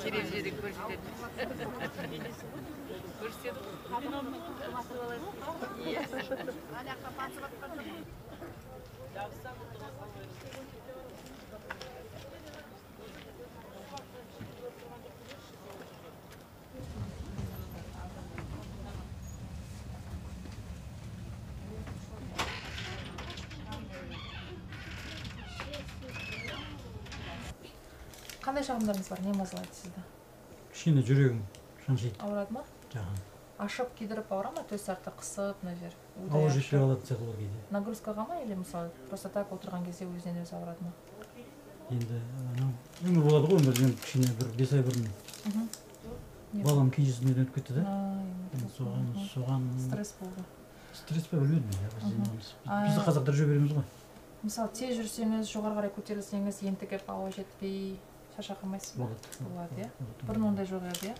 Терезеде көрсетет. Көрсетет. Кандай шагымдарыңыз бар? Не мазалайт сизди? Кичине жүрөгүм шаншыйт. Ауырадымы? Жаган. Ашып кидирип ауырама, төс арты кысып, мына жер. Ауыр жетпей калат сыяктуу бар кийде. Нагрузкага или мисалы просто так отурган кезде өзүнөн өзү ауырадымы? Енді өмір болады ғой, өмір кішкене бір 5 ай бұрын балам кенжесінен өтіп кетті да. Соған Стресс болды. Стресс па білмедім я. Біз қазақтар жүре береміз ғой. Мысалы, тез жүрсеңіз, жоғары қарай көтерілсеңіз, ентігіп ауа жетпей шаршап қалмайсыз ба? Болады, иә. Бұрын ондай жоқ еді, иә.